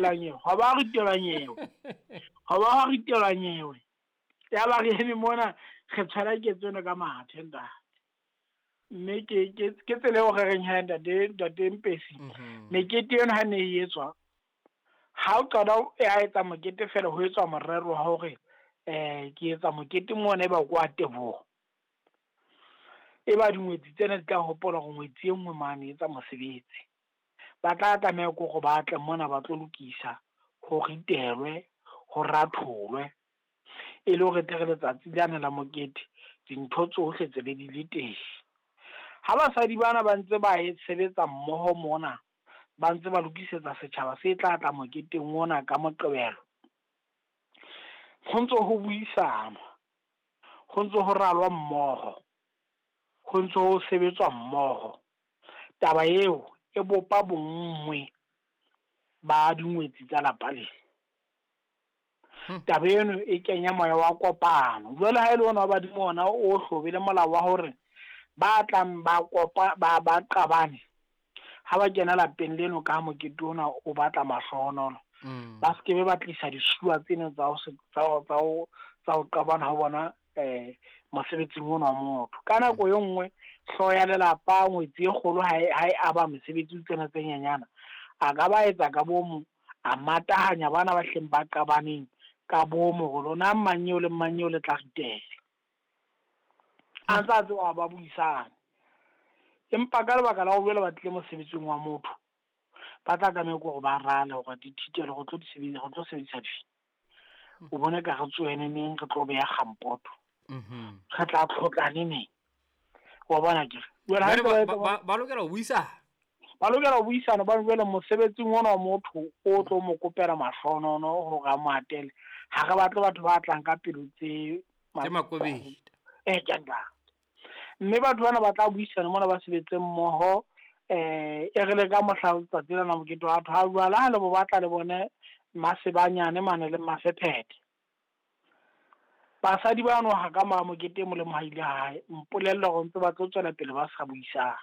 Nyewe hwa ba ritelwa nyewe, hwa ba hwa ritelwa nyewe. Ya ba re eme mona re tshwara ketso ena ka mathe ntate. Mme ke ke ke tsela eo re reng he ntate ntate Mpesi. Mekete eno ha ne e etswa, ha o qala ya etsa mokete fela ho etswa morero wa hore ke etsa mokete mona e ba kwa teboho. E ba dingwetsi tsena di tla hopola hore ngwetsi e nngwe mane e etsa mosebetsi. Ba tla tlameha ke hore ba tle mona ba tlo lokisa, ho ritelwe, ho ratholwe. E le hore tle re letsatsi lane la mokete, dintho tsohle tse be di le teng. Ha basadi bana ba ntse ba e sebetsa mmoho mona, ba ntse ba lokisetsa setjhaba se tla tla moketeng ona ka Moqebelo. Ho ntso ho buisanwa, ho ntso ho ralwa mmoho, ho ntso ho sebetswa mmoho. Taba eo e bopa bonngwe ba dingwetsi tsa lapa lena. Taba eno e kenya moya wa kopano. Jwale ha ele ona wa badimo ona o hlobele molao wa hore ba tlang ba kopa ba ba qabane ha ba kena lapeng leno ka mokete ona o batla mahlohonolo, ba se ke be ba tlisa disuwa tseno tsa ho tsa ho tsa ho qabana ho bona mosebetsing ona wa motho. Ka nako e nngwe hlooho ya lelapa ngwetsi e kgolo ha e aba mesebetsi tsena tse nyenyana, a ka ba etsa ka bomo, a matahanya bana ba hleng ba qabaneng ka bomo hore lona mang eo le mang eo le tla ritela. A ntse a tseba ba buisane. Empa ka lebaka la ho jwale ba tlile mosebetsing wa motho, ba tla tlameha ke hore ba rale hore dithitelo re tlo di sebedisa, re tlo sebedisa dife. O bone ka re tsohene neng re tlo beha kgampoto. Re tla tlhotlane neng. Wa bona ke re. Jwale ba lokela ho buisana. Ba lokela ho buisana ba jwale mosebetsing ona wa motho o tlo mo kopela mahlonono hore a mo atele. Ha re batle batho ba tlang ka pelo tse makobedi. Ke nka. Mme batho bana ba tla buisana mona ba sebetse mmoho, e re le ka mohla letsatsi lena mokete wa batho ha jwale ha le bo batla le bone masebanyane mane le mafephethe. Basadi ba no ha ka mora mokete e molemo ha ile hae, mpolella hore ntse ba tlo tswela pele ba sa buisana.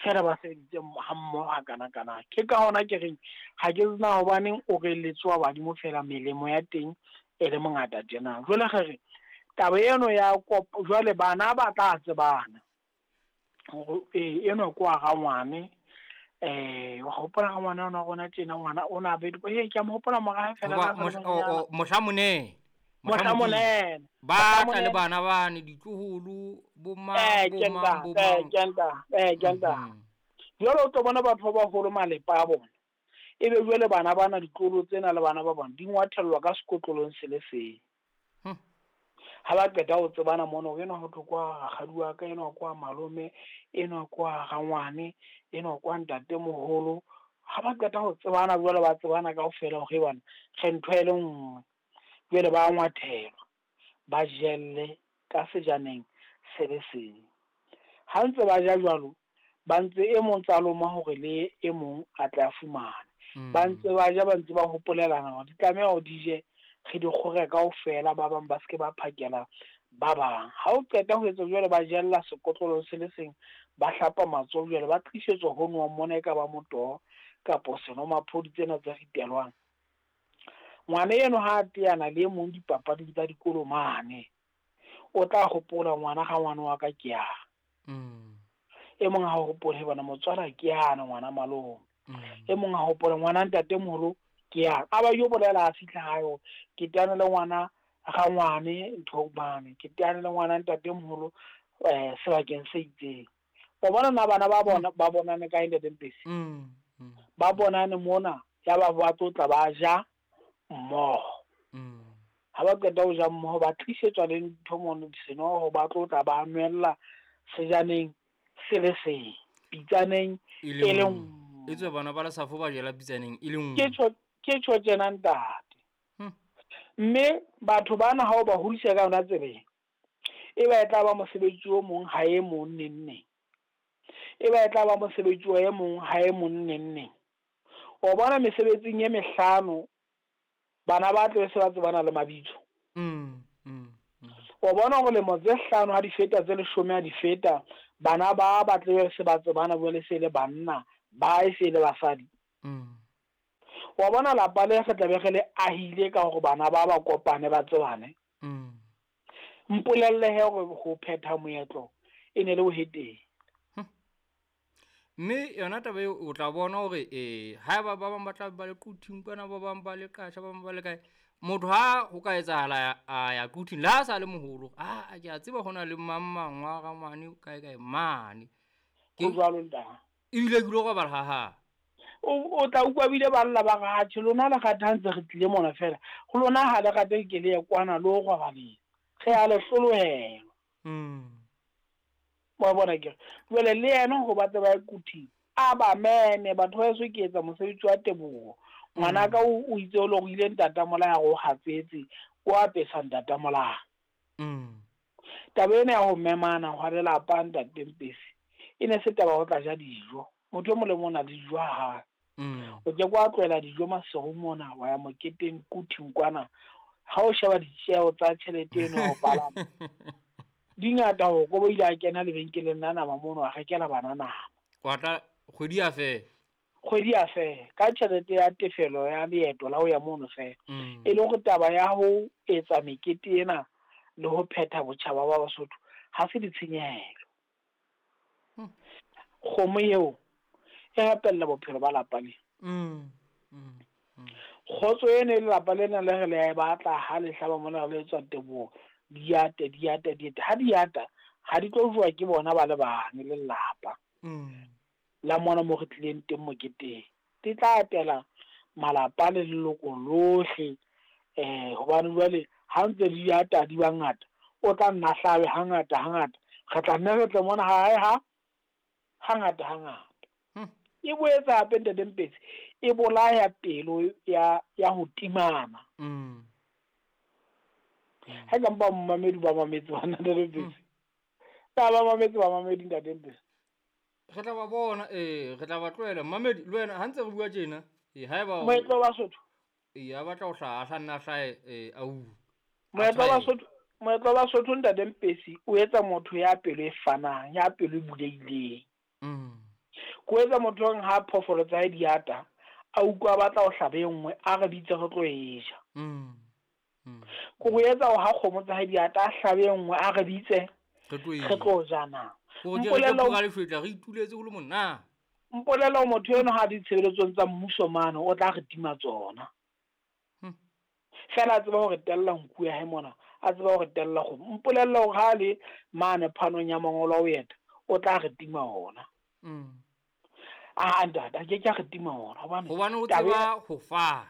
Feela ba sebeditse ha mmoho ha kana kana. Ke ka hona ke reng ha ke tsena hobaneng o re letsoa badimo fela melemo ya teng e le mongata tjena. Jwale re re taba eno ya kopo jwale bana ba tla tsebana hore eno ke wa rangwane, wa hopola rangwane ona rona tjena ngwana ona be ke a mo hopola mora fela mohla monene mohla monene ba tla le bana bane ditloholo bo mang bo mang bo mang ke nta jwale o tlo bona batho ba baholo malepa a bona ebe jwale bana bana ditloholo tsena le bana ba bona di ngwathellwa ka sekotlolong se le seng. Ha ba qeta ho tsebana mona hore enwa ho thwe kwa rakgadi wa ka, enwa kwa malome, enwa kwa rangwane, enwa kwa ntatemoholo. Ha ba qeta ho tsebana jwale ba tsebana kaofela hore bana re ntho e le nngwe. Jwale ba ngwathelwa, ba jelle ka sejaneng se le seng. Ha ntse ba ja jwalo, ba ntse e mong tsa loma hore le e mong a tle a fumane. Ba ntse ba ja, ba ntse ba hopolelana hore di tlameha hore di je re di kgore kaofela, ba bang ba se ke ba phakela ba bang. Ha o qeta ho etsa jwale ba jella sekotlolo se le seng, ba hlapa matsoho jwale ba tlisetswa ho nwa mona e ka ba motoho kapo senomaphodi tsena tse ritelwang. Ngwana eno ha a teana le e mong dipapading tsa dikolo mane, o tla hopola ngwana ga ngwana wa ka ke yang. E mong ha hopole bona motswala ke yana ngwana malome. E mong ha hopole ngwana ntatemoholo ke yang. A ba yo bolela a fihla hae hore ke teane le ngwana rangwane ntho mane, ke teane le ngwana ntatemoholo sebakeng se itseng. O bona na bana ba bona ba bonane kae ntate Mpesi? Ba bonane mona ya ba ba tlotla ba ja mmoho. Ha ba qeta ho ja mmoho ba tlisetswa le ntho mono senoho, ba tlotla ba nwella sejaneng se le seng, pitsaneng e le nngwe. E tswe bana ba le safo ba jela pitsaneng e le nngwe. Ke tjho tjena ntate. Mme batho bana ha o ba hodisa ka yona tseleng, e ba e tla ba mosebetsi o mong ha e mong neng neng. E ba e tla ba mosebetsi o e mong ha e mong neng neng. O bona mesebetsing e mehlano bana ba tle se ba tsebana le mabitso. O bona hore lemo tse hlano ha di feta tse leshome ha di feta, bana ba ba tle se ba tsebana jwale se le banna, ba e se le basadi. Wa bona lapa le re tlabe re le ahile ka hore bana ba ba kopane ba tsebane. Mpolelle he hore ho phetha moetlo e ne le boheteng. Mme yona taba eo o tla bona hore haeba ba bang ba tla ba le Quthing kwana, ba bang ba le Qasha, ba bang ba le kae. Motho ha ho ka etsahala a ya Quthing le ha sa le moholo, a ke a tseba hona le mang mang wa ga mane kae kae mane. Ho jwalo ntate. Ebile ke lo robala ha ha. O tla utlwa bile ba lla ba re atjhe lona le rata ha ntse re tlile mona fela. Ho lona ha le rate ke le ye kwana le o robaleng. Re a le hlolohelwa. Wa bona ke re. Jwale le yena hore ba tle ba ye Quthing, a ba meme batho ba heso ke etsa mosebetsi wa teboho. Ngwanaka o itse o lorile ntata molaya re o hatsetse, o apesa ntata molaya. Taba ena ya ho memana hwa lelapa ntate Mpesi e ne se taba ya ho tla ja dijo. Motho e mong le mong o na le dijo ha hae. O ke ke wa tlohela dijo Maseru mona wa ya moketeng Quthing kwana. Ha o sheba ditjeho tsa tjhelete eno ya ho palama di ngata hore ko ile a kena lebenkeleng la nama mono a rekela bana nama. Wa tla kgwedi ya fela. Kgwedi ya fela ka tjhelete ya tefelo ya leeto la ho ya mono fela. E le hore taba ya ho etsa mekete ena le ho phetha botjhaba ba Basotho ha se ditshenyehelo. Kgomo eo e rapella bophelo ba lapa le. Kgotso ena e lelapa lena le re le a e batla ha le hlaba mona re le etswa teboho di ate di ate di ate ha di ata ha di tlo jowa ke bona ba le bang le lelapa la mona mo re tlileng teng moketeng. Di tla atela malapa le leloko lohle hobane jwale ha ntse di ata di ba ngata o tla nna hlabe hangata hangata re tla nne re tle mona ha hae ha hangata hangata. E boetse hape ntate Mpetsi e bolaya pelo ya ya ho timana. Ha ka mpa mamedi ba mametse bana ntate Mpetsi. Ba ba mametse ba mamedi ntate Mpetsi. Re tla ba bona re tla ba tlohela mamedi le wena ha ntse re bua tjena haeba moetlo wa Basotho a batla ho hlaha a nna hlahe a u. Moetlo wa Basotho, moetlo wa Basotho ntate Mpetsi o etsa motho ya pelo e fanang, ya pelo e bulehileng. Ko etsa motho hore ha phoofolo tsa hae di ata, a utlwa a batla ho hlaba e nngwe, a re bitse re tlo e ja. Ko go etsa hore ha kgomo tsa hae di ata, a hlabe e nngwe, a re bitse re tlo ja na. Re ituletse ho le monate. Mpolella motho eno ha ditshebeletsong tsa mmuso mane o tla re tima tsona. Fela a tseba hore tella nku ya hae mona, a tseba hore tella kgomo. Mpolella hore ha le mane phanong ya mangolo a ho eta, o tla re tima ona. A ntate, a ke ke a re tima ona hobane hobane o tseba ho fana.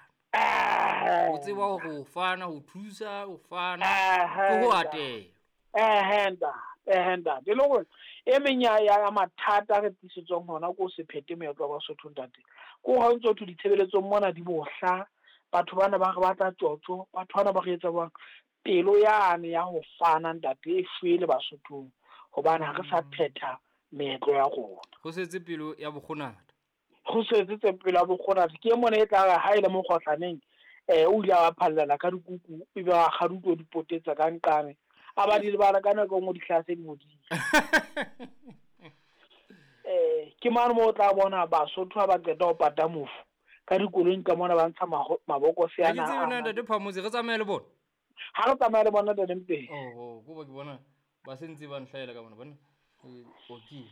O tseba ho fana, ho thusa, ho fana, ke ho atela. Ntate. E le hore e meng ya mathata re tlisetswang hona ko se phete moetlo wa Basotho ntate. Ko ha ntso thwe ditshebeletsong mona di bohla, batho bana ba re batla tjotjo, batho bana ba re etsa jwang. Pelo yane ya ho fana ntate e shwele Basothong hobane ha re sa phetha meetlo ya rona. Ho setse pelo ya bokgonata. Ho setse pelo ya bokgonata. Ke mona e tla re ha e le mokgohlaneng o ile a phallela ka dikuku ebe a kgaduto di potetsa ka nqane. A ba di lebala ka nako e nngwe di hlaha se di bodile. Ke mane moo o tla bona Basotho ha ba qeta ho pata mofu ka dikoloing ka mona ba ntsha mabokose ana. Ha ke tsebe na ntate Phamotse re tsamaye le bona. Ha re tsamaye le bona ntate Mpetsi. Oh, ko ba ke bona ba sentse ba nhlaela ka bona bona. Okay.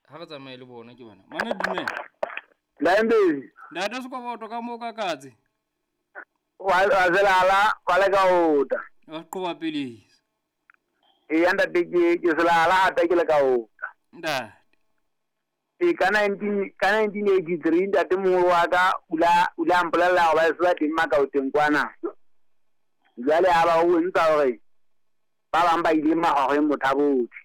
Ha re tsamaye le bona ke bona. Mana dumela. Lambe. Ntate Sekoboto ka mo ka katse. Wa selala wa le ka ota. Wa qoba pele. E ntate ke selala hape ke le ka ota. Ntate. E ka 1983 ntate moholo wa ka o la mpolella hore ba se ba teng Makaoteng kwana. Jwale ha ba o ntsa hore ba bang ba ile mahoreng mothabotse.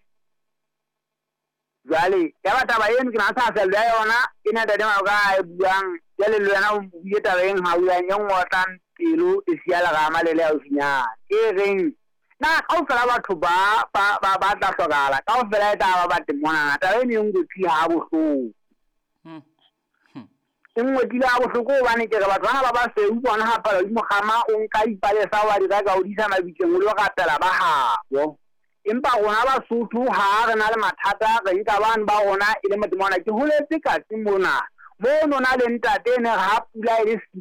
Jwale ya ba taba eno ke na sa fella ya yona e na ntate ka a buang jwale le wena o buile taba eng ha o yang e ngotlang pelo e siya lerama le le haufinyana. E reng na kaofela batho ba ba tla hlokahala kaofela e tla ba ba teng mona. Taba eno e ngotsi ha bohloko. E ngotlile ha bohloko hobane ke re batho bana ba basweu bona ha palo di mokgama o nka dipalesa wa di reka o di isa mabitleng o lo rapela ba habo. Empa rona Basotho ha re na le mathata re nka bana ba rona e le motho mona. Ke holetse katse mona mono na le ntate ne ha pula e le siko